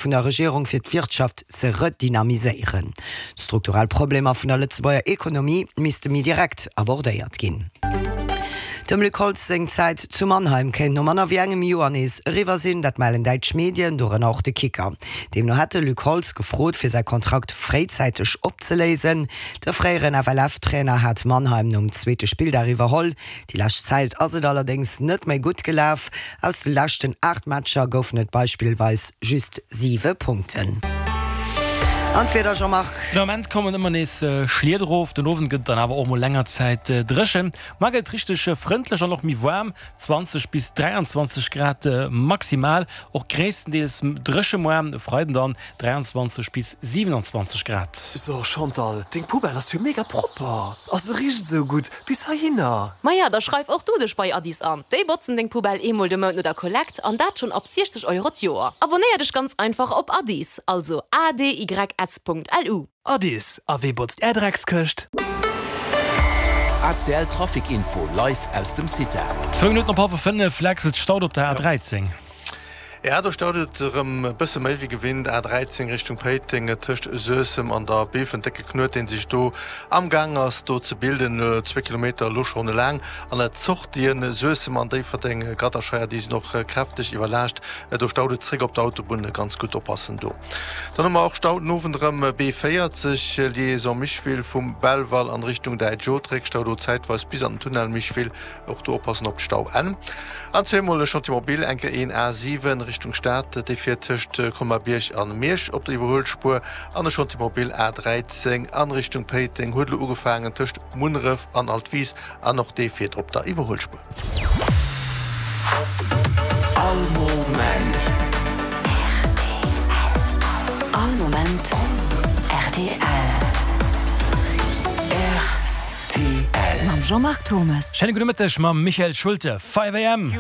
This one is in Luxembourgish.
Vun der Regierung fir d'Wirtschaft ze redynamiséieren. D'strukturell Problemer vun der Lëtzebuerger Ekonomie misste méi direkt abordéiert ginn. Dem Luc Holtz seng Zäit zu Mannheim kéint no manner wéi engem Joer nees eriwwer sinn. Dat mellen däitsch Medien, dorënner och de Kicker. Deemno hätt de Luc Holtz gefrot, fir säi Kontrakt fréizäiteg opzeléisen. De fréieren FLF-Trainer hat Mannheim nom zweete Spilldag iwwerholl. Déi lescht Zäit ass et allerdéngs net méi gutt gelaf. Aus de leschten 8 Matcher goufen et beispillweis just 7 Punkten. An d'Wieder, Jean-Marc? Den Ament kommen ëmmer nees Schliet erof, den Owend gëtt et dann awer och mol länger Zäit dréchen. Mar gëtt et richteg frëndlech an och méi waarm, 20 bis 23 Grad maximal, och gréisstendeels dréche moar. E Freiden dann 23 bis 27 Grad. So Chantal, deng Poubelle ass jo mega propper, a se richt esou gutt bis heihinner. Maja, da schreif och du dech bei Addis an. Déi botzen deng Poubelle eemol de Mount no der Kollekt an dat schonn ab 60 Euro d'Joer. Abonnéier dech ganz einfach op Addis, also adys.lu. Addis, a wee botzt är Dreckskëscht? ACL Trafic Info live aus dem CITA. Zwou Minutten op hallwer 5, Lex, et staut op der A13. Ja, do staut et erëm e bësse méi wéi gewinnt. A 13 Richtung Péiteng, tëscht Suessem an der Bilfen, décke Knuet, deen sech do amgaang ass do ze bilden, zwee Kilometer elo schonn laang. An d'Sortien Suessem an Déifferdeng, Gadderscheier, déi sinn och kräfteg iwwerlaascht. Do staut et zréck op der Autobunn, ganz gutt oppassen do. Dann hu mer och Stau den Owend erëm, B 40, Liaison Micheville vum Belval an Richtung Däitsch Otréck, Stau do zäitweis bis an den Tunnel Micheville. Och do oppassen op d'Stauenn. An zweemol e Chantier mobile, eng Kéier een A 7 Richtung Stad, dee fiert tëscht Colmar-Bierg an Miersch op der Iwwerhuelspuer, an e Chantier mobile A 13 an Richtung Péiteng huet elo ugefaangen tëscht Munneref an Altwis, an och dee fiert op der Iwwerhuelspuer. All Moment. All Moment rtl. Rtl. Mam Jean-Marc Thommes. Schéine gudde Mëtteg mam Michael Schulte. 5 am.